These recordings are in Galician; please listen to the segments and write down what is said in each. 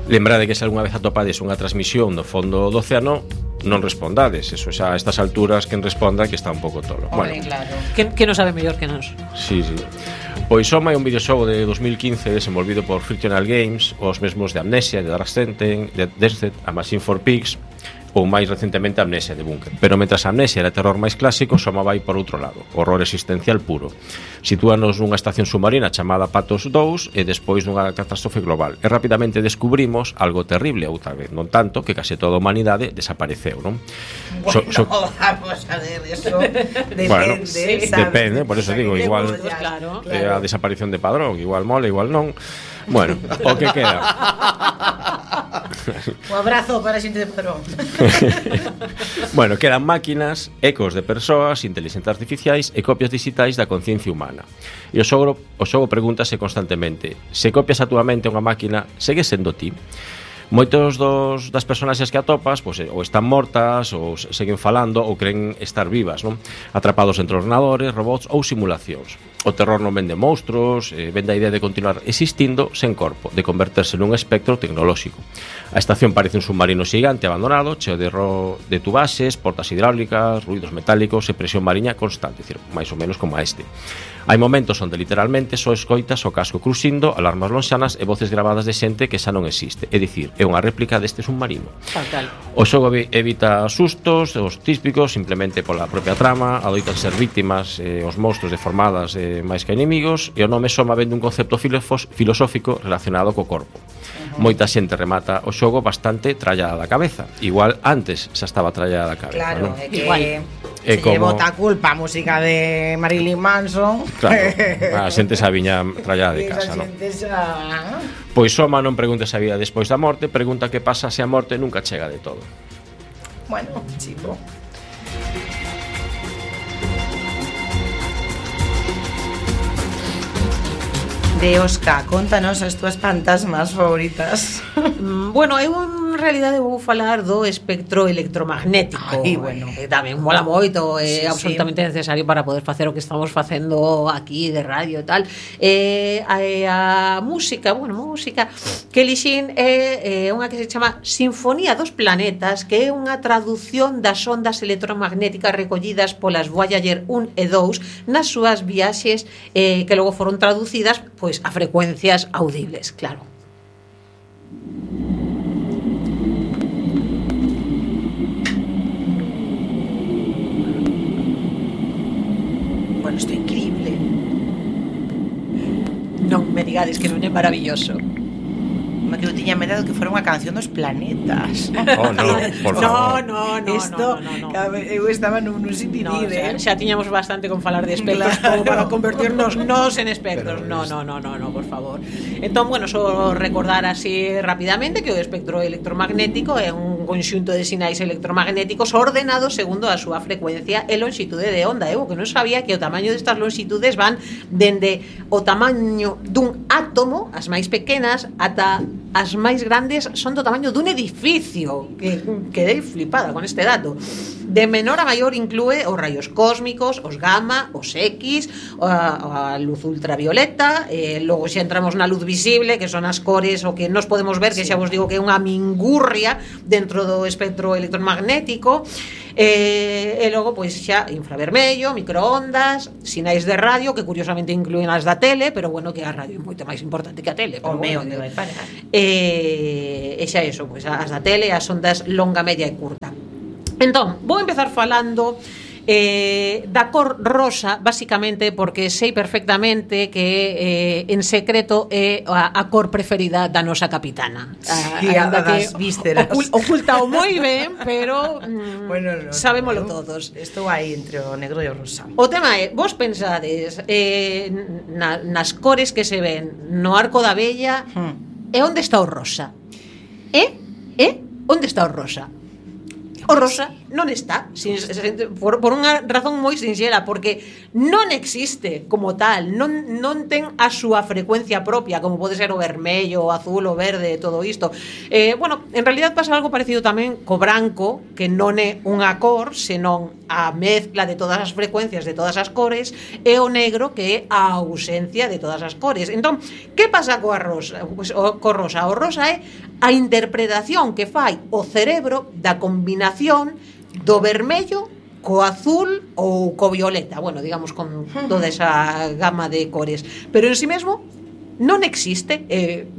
Lembrade que se algunha vez atopades unha transmisión do fondo do océano, non respondades. Eso xa a estas alturas quen responda que está un pouco tolo. Bueno, claro. Que non sabe mellor que nós. Sí. Pois Soma é un videoxogo de 2015 desenvolvido por Frictional Games, os mesmos de Amnesia, de Dark Descent, de Descent, A Machine for Pigs, ou máis recentemente Amnesia de Bunker. Pero mentras Amnesia era terror máis clásico, Soma vai por outro lado, horror existencial puro. Sitúanos nunha estación submarina chamada Patos 2 e despois dunha catástrofe global. E rapidamente descubrimos algo terrible, ou tal vez non tanto, que case toda a humanidade desapareceu, non? Bueno, vamos a ver, eso depende, bueno, ¿sabes? Depende, por eso digo, igual claro. a desaparición de Padrón, igual mola, igual non. Bueno, o que queda. Un abrazo para a xente de Padrón. Bueno, quedan máquinas, ecos de persoas, inteligencias artificiais e copias digitais da conciencia humana. E o xogo pregúntase constantemente: se copias a túa mente unha máquina, segue sendo ti? Moitos das personaxes que atopas pois, ou están mortas, ou seguen falando, ou creen estar vivas, non? Atrapados entre ordenadores, robots ou simulacións. O terror non vende monstruos, vende a idea de continuar existindo sen corpo, de converterse nun espectro tecnolóxico. A estación parece un submarino xigante abandonado, cheo de tubaxes, portas hidráulicas, ruidos metálicos e presión mariña constante, decir, máis ou menos como a este. Hai momentos onde literalmente só escoitas o casco cruxindo, alarmas lonxanas e voces gravadas de xente que xa non existe. É dicir, é unha réplica deste submarino. Tal. O xogo evita sustos, os típicos, simplemente pola propia trama, adoitan ser víctimas os monstruos deformadas máis que enemigos, e o nome Soma vende un concepto filosófico relacionado co corpo. Moita xente remata o xogo bastante trallada da cabeza. Igual antes xa estaba trallada da cabeza. Claro, ¿no? é que igual se lle bota a culpa a música de Marilyn Manson. Claro, a xente xa viña trallada de casa, non? Pois Soma non pregunta se a vida despois da morte, pregunta que pasa se a morte nunca chega de todo. Bueno, chico. De Oscar, contanos as túas fantasmas favoritas. Bueno, eu en realidade vou falar do espectro electromagnético. Ai, bueno, que tamén mola moito, é sí, absolutamente necesario para poder facer o que estamos facendo aquí de radio e tal. A música que elixín é unha que se chama Sinfonía dos Planetas, que é unha traducción das ondas electromagnéticas recollidas polas Voyager 1 e 2 nas súas viaxes que logo foron traducidas pois a frecuencias audibles, claro. Bueno, isto é increíble. Non me digades que non é maravilloso. Que eu tiña medo que fora unha canción dos planetas. Oh, no, por favor. No. Isto, eu estaba nun sindidir, xa tiñamos bastante con falar de espectros, claro, como para convertirnos nos en espectros. No, por favor. Entón, bueno, só recordar así rapidamente que o espectro electromagnético é un conxunto de sinais electromagnéticos ordenados segundo a súa frecuencia e lonxitude de onda. Eu que non sabía que o tamaño destas lonxitudes van dende o tamaño dun átomo, as máis pequenas, ata as máis grandes son do tamaño dun edificio, que quedei flipada con este dato. De menor a maior inclúe os raios cósmicos, os gamma, os X, a luz ultravioleta, logo xa entramos na luz visible, que son as cores o que nos podemos ver, que xa vos digo que é unha mingurria dentro do espectro electromagnético. E logo pois xa infravermello, microondas, sinais de radio que curiosamente inclúen as da tele, pero bueno, que a radio é moito máis importante que a tele, pero bueno, onde vai parar. E xa eso, pois as da tele, as ondas longa, media e curta. Entón, vou empezar falando da cor rosa, basicamente porque sei perfectamente que en secreto é a cor preferida da nosa capitana. Sí, a das vísceras. Oculta o moi ben, pero bueno, sabémolo todos. Estou aí entre o negro e o rosa. O tema é, vos pensades nas cores que se ven no arco da vella, e onde está o rosa? Onde está o rosa? O rosa non está, por unha razón moi sinxela, porque non existe como tal, non ten a súa frecuencia propia, como pode ser o vermello, o azul, o verde, todo isto. Bueno, en realidad pasa algo parecido tamén co branco, que non é unha cor, senón a mezcla de todas as frecuencias de todas as cores, e o negro, que é a ausencia de todas as cores. Entón, que pasa coa rosa? Pues, co rosa? O rosa é a interpretación que fai o cerebro da combinación do vermello co azul ou co violeta, bueno, digamos con toda esa gama de cores, pero en si mesmo non existe, é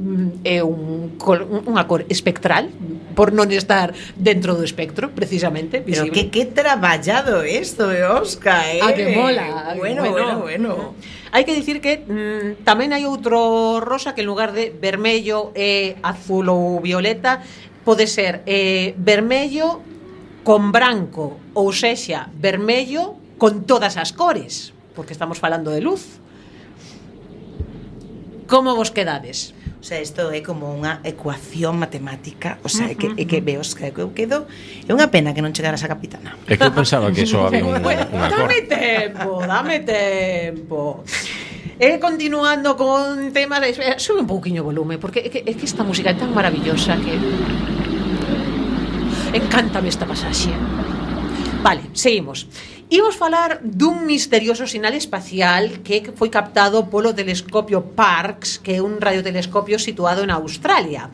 unha cor espectral por non estar dentro do espectro, precisamente visible. Pero que traballado isto, Óscar, que mola. Bueno. Hai que dicir que tamén hai outro rosa que en lugar de vermello e azul ou violeta pode ser vermello con branco, ou sexa, vermello con todas as cores, porque estamos falando de luz. Como vos quedades? O sea, isto é como unha ecuación matemática. O sea, que veos que eu quedo. É unha pena que non chegaras a capitana. É que eu pensaba que só había unha cor. Dame tempo. Continuando con temas, sube un pouquiño o volume, porque é que esta música é tan maravillosa que encántame esta pasaxe. Vale, seguimos. Imos falar dun misterioso sinal espacial que foi captado polo telescopio Parkes, que é un radiotelescopio situado en Australia.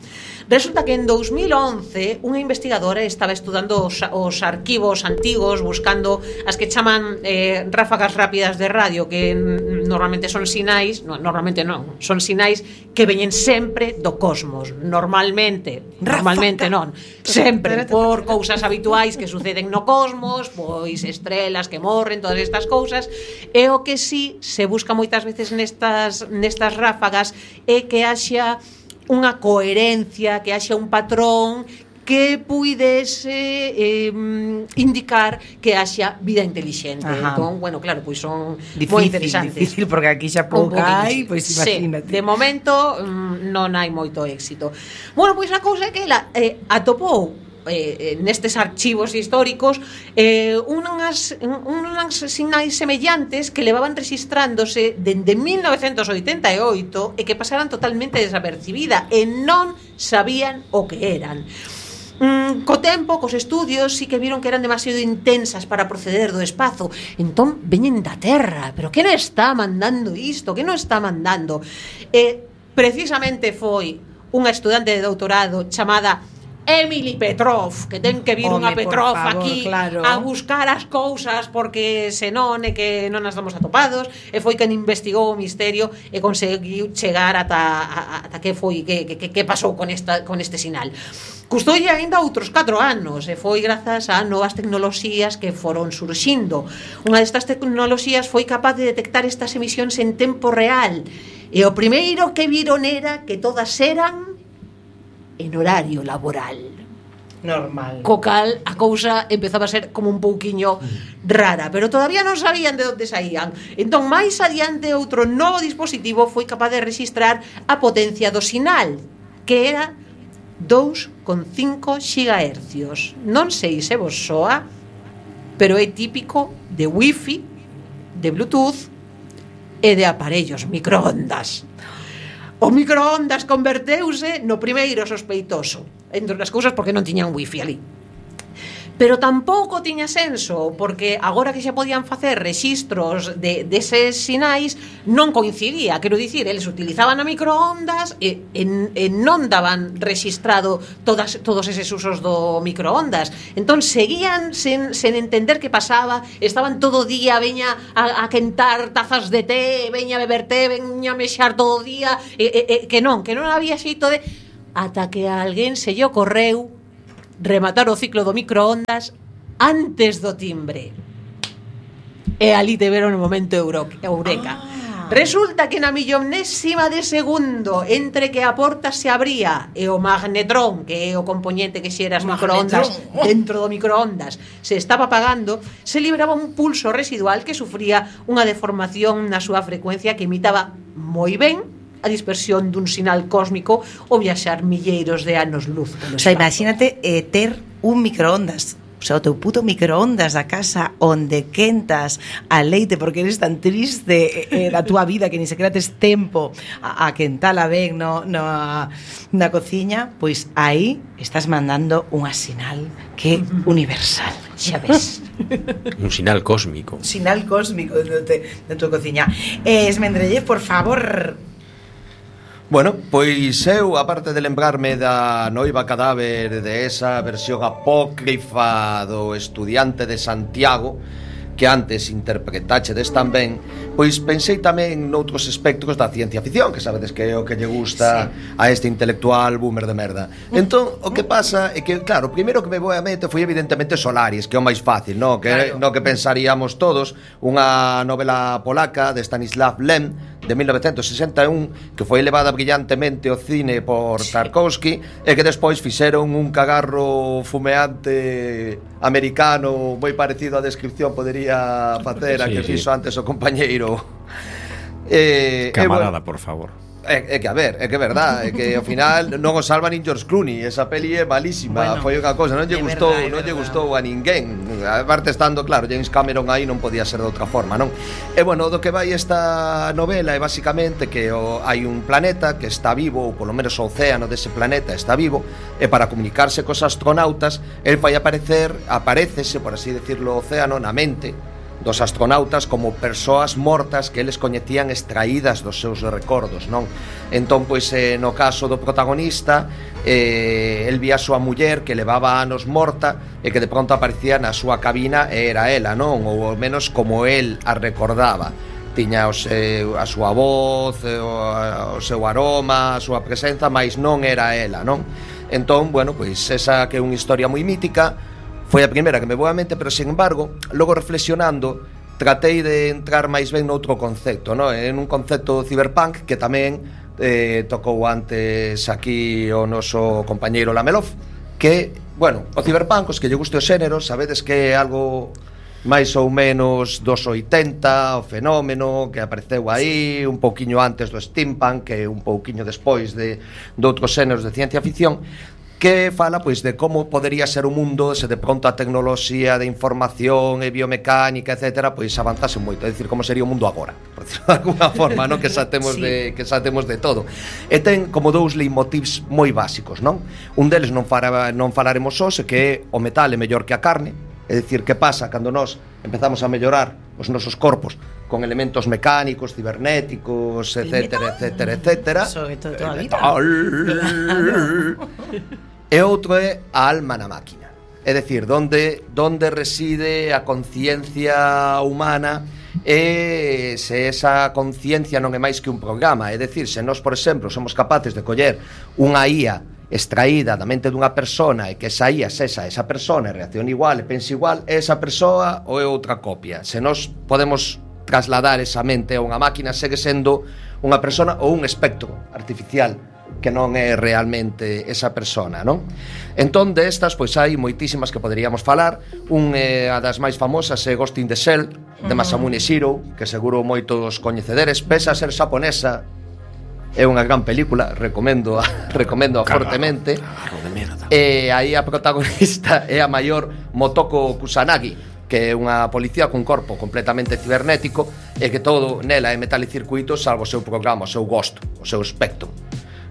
Resulta que en 2011 unha investigadora estaba estudando os arquivos antigos, buscando as que chaman ráfagas rápidas de radio, que normalmente son sinais, son sinais que veñen sempre do cosmos, normalmente non, sempre por cousas habituais que suceden no cosmos, pois estrelas que morren, todas estas cousas, e o que sí se busca moitas veces nestas ráfagas é que haxa unha coherencia, que haxa un patrón que puidese indicar que haxa vida inteligente. Entón, bueno, claro, pois son moi interesantes. Difícil, porque aquí xa pouca hai, pois imagínate. Sí, de momento non hai moito éxito. Bueno, pois a cousa é que ela atopou nestes archivos históricos unhas sinais semellantes que levaban registrándose dende 1988 e que pasaran totalmente desapercibida e non sabían o que eran. Co tempo, cos estudios, sí que viron que eran demasiado intensas para proceder do espazo. Entón, veñen da Terra. Pero que non está mandando isto? Que non está mandando? Precisamente foi unha estudante de doutorado chamada Emily Petrov, que ten que vir unha Petrov aquí a buscar as cousas, porque senón é que non as damos atopados, e foi quen investigou o misterio e conseguiu chegar ata que foi que pasou con este sinal. Custoulle aínda outros 4 anos e foi grazas a novas tecnoloxías que foron surxindo. Unha destas tecnoloxías foi capaz de detectar estas emisións en tempo real, e o primeiro que viron era que todas eran en horario laboral. Normal. Co cal a cousa empezaba a ser como un pouquiño rara, pero todavía non sabían de onde saían. Entón, máis adiante, outro novo dispositivo foi capaz de registrar a potencia do sinal, que era 2,5 GHz. Non sei se vos soa, pero é típico de Wi-Fi, de Bluetooth e de aparellos microondas. O microondas converteuse no primeiro sospeitoso, entre as cousas porque non tiñan wifi ali. Pero tampouco tiña senso, porque agora que xa podían facer rexistros deses sinais, non coincidía. Quero dicir, eles utilizaban a microondas e non daban rexistrado todos eses usos do microondas. Entón seguían sen entender que pasaba, estaban todo o día, veña a quentar tazas de té, veña a beber té, veña a mexar todo o día, que non había xeito de... Ata que a alguén se lle ocorreu rematar o ciclo do microondas antes do timbre. E ali te veron o momento eureka. Resulta que na millonésima de segundo entre que a porta se abría e o magnetrón, que é o componente que xera as microondas dentro do microondas, se estaba apagando, se libraba un pulso residual que sufría unha deformación na súa frecuencia que imitaba moi ben a dispersión dun sinal cósmico ou viaxar milleiros de anos luz. O sea, imagínate ter un microondas O sea, o teu puto microondas da casa onde quentas a leite porque eres tan triste da túa vida que ni sequera tes tempo a quentala ben na cociña, pois aí estás mandando unha sinal que é universal, xa ves. Un sinal cósmico. Sinal cósmico de tua cociña. Esmendrellez, por favor. Bueno, pois eu, aparte de lembrarme da noiva cadáver, de esa versión apócrifa do Estudiante de Santiago, que antes interpretachedes tamén, pois pensei tamén noutros espectros da ciencia ficción, que sabedes que é o que lle gusta a este intelectual boomer de merda. Entón, o que pasa é que, claro, o primeiro que me voy a mente foi evidentemente Solaris, que é o máis fácil, no que pensaríamos todos, unha novela polaca de Stanislav Lem, de 1961, que foi levada brillantemente ao cine por Tarkovsky e que despois fixeron un cagarro fumeante americano moi parecido á descripción podería facer a que fixo antes o compañeiro camarada, por favor. É que a ver, é que é verdad, é que ao final non o salva nin George Clooney, esa peli é malísima, foi unha cousa, non lle gustou a ninguén. Aparte estando, claro, James Cameron aí non podía ser de outra forma, non? E bueno, do que vai esta novela é basicamente que hai un planeta que está vivo, ou polo menos o océano dese planeta está vivo, e para comunicarse cos astronautas, el vai aparécese, por así decirlo, o océano na mente dos astronautas como persoas mortas que eles coñecían extraídas dos seus recordos, non? Entón, pois, no caso do protagonista, el vía a súa muller que levaba anos morta e que de pronto aparecía na súa cabina e era ela, non? Ou ao menos como el a recordaba. Tiña a súa voz, o seu aroma, a súa presenza, mas non era ela, non? Entón, bueno, pois esa que é unha historia moi mítica foi a primeira que me voa a mente, pero sin embargo, logo reflexionando, tratei de entrar máis ben noutro concepto, no? En un concepto cyberpunk que tamén tocou antes aquí o noso compañeiro Lamelov, que, bueno, o cyberpunk, os que lle guste o xénero, sabedes que é algo máis ou menos dos 80, o fenómeno que apareceu aí un pouquiño antes do steampunk, que un pouquiño despois de outros xéneros de ciencia ficción, que fala pois de como podería ser o mundo se de pronto a tecnoloxía de información e biomecánica, etcétera, pois avanzase moito, é dicir, como sería o mundo agora, por decirlo de alguna forma, non? Que xa temos de todo. E ten como dous leitmotivs moi básicos, non? Un deles non falaremos hoxe, que é o metal é mellor que a carne, é dicir, que pasa cando nós empezamos a mellorar os nosos corpos con elementos mecánicos, cibernéticos, etcétera, etcétera, etcétera. Sobre todo toda a vida. E outro é a alma na máquina. É dicir, donde reside a conciencia humana e se esa conciencia non é máis que un programa. É dicir, se nós, por exemplo, somos capaces de coller unha IA extraída da mente dunha persona e que esa IA sexa esa persona e reacciona igual e pensa igual, é esa persoa ou é outra copia. Se nós podemos trasladar esa mente a unha máquina, segue sendo unha persona ou un espectro artificial que non é realmente esa persona, non? Entón, destas, pois hai moitísimas que poderíamos falar. A das máis famosas é Ghost in the Shell, de Masamune Shirow, que seguro moitos coñecederes, pese a ser xaponesa, é unha gran película, recomendo fortemente. E aí a protagonista é a maior Motoko Kusanagi, que é unha policía cun corpo completamente cibernético e que todo nela é metal e circuitos salvo o seu programa, o seu Ghost, o seu espectro,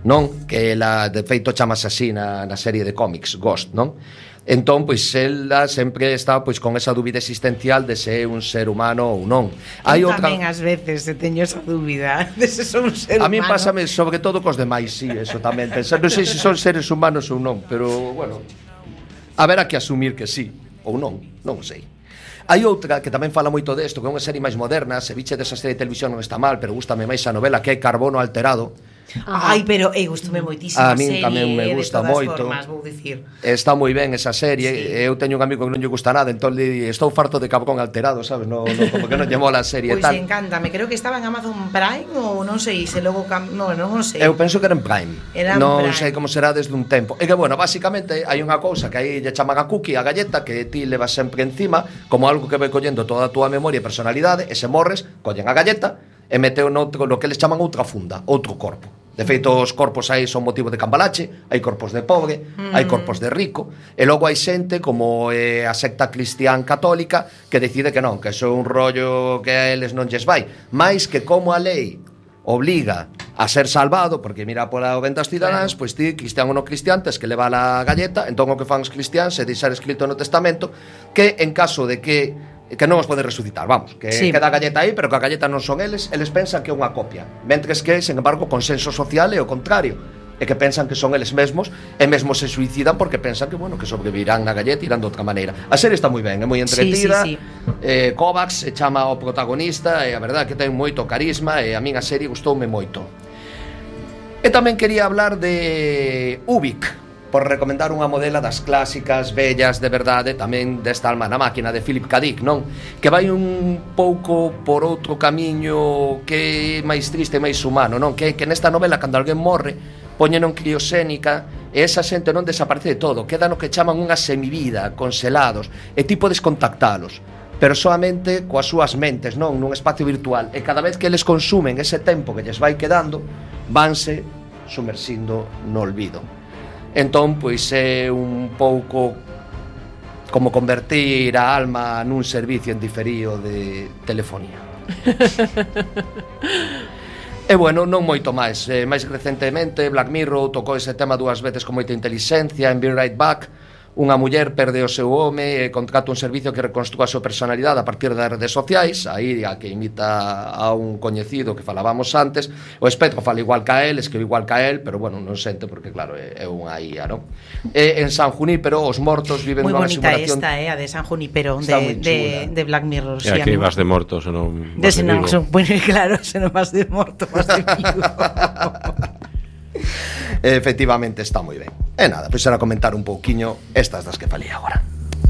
non? Que ela, de feito, chamase así na serie de cómics, Ghost, non? Entón, pois, ela sempre está pois con esa dúbida existencial de se é un ser humano ou non. Hai outra... Tamén ás veces se teño esa dúbida de se son un ser humano. A mí pásame sobre todo cos demais, sí, eso tamén. Pensar, non sei se son seres humanos ou non, pero, bueno, haberá que asumir que sí, ou non sei. Hai outra que tamén fala moito desto, que é unha serie máis moderna, se biche desa serie de televisión non está mal, pero gústame máis a novela, que é Carbono Alterado. Ai, pero gustoume moitísimo a min tamén me gusta moito. Formas, vou dicir. Está moi ben esa serie. Eu teño un amigo que non lle gusta nada, entón estou farto de Carbón Alterado, sabes? No, como que non lle mola a serie tal. Pois encántame, creo que estaba en Amazon Prime ou non sei, se logo non sei. Eu penso que era en Prime. Non sei como será desde un tempo. E que bueno, basicamente hai unha cousa que aí lle chaman a cookie, a galleta, que ti levas sempre encima, como algo que vai collendo toda a túa memoria e personalidade, e se morres, collen a galleta e meteu no que les chaman outra funda, outro corpo De feito, os corpos aí son motivo de cambalache, hai corpos de pobre, hai corpos de rico, e logo hai xente como a secta cristián católica que decide que non, que iso é un rollo que a eles non lles vai, máis que como a lei obliga a ser salvado, porque mira pola o ventas cidadáns, pois ti, cristián ou non cristián, tes que levar a galleta, entón o que fan os cristiáns é deixar escrito no testamento que en caso de que non os pode resucitar, vamos, que queda a galleta aí, pero que a galleta non son eles pensan que é unha copia, mentres que, sen embargo, o consenso social é o contrario, é que pensan que son eles mesmos e mesmo se suicidan porque pensan que, bueno, que sobrevivirán na galleta e irán de outra maneira. A serie está moi ben, é moi entretida. Kovacs chama ao protagonista e a verdade que ten moito carisma e a min a serie gustoume moito. E tamén quería hablar de Ubik, por recomendar unha modela das clásicas vellas de verdade, tamén desta Alma na máquina de Philip K. Dick, non? Que vai un pouco por outro camiño que é máis triste e máis humano, non? Que nesta novela, cando alguén morre, poñen en criosénica e esa xente non desaparece de todo, queda no que chaman unha semivida, conselados, e ti podes contactalos, pero soamente coas súas mentes, non? Nun espacio virtual, e cada vez que eles consumen ese tempo que lles vai quedando, vanse sumersindo no olvido. Entón, pois é un pouco como convertir a alma nun servicio en diferido de telefonía. E bueno, non moito máis. Mais recentemente Black Mirror tocou ese tema 2 veces con moita inteligencia en Be Right Back. Unha muller perde o seu home e contrata un servicio que reconstrúa a súa personalidade a partir das redes sociais, aí a que imita a un coñecido que falábamos antes. O espectro fala igual que a él, escribe igual que a él, pero bueno, non sente porque claro, é unha IA, non? En San Junípero os mortos viven nunha simulación. Moi bonita esta, a de San Junípero de Black Mirror. E aquí vas de mortos ou non vas de vivo. Bueno, claro, se non vas de morto, vas de vivo. Efectivamente está moi ben. E nada, pois era comentar un pouquiño estas das que falei agora.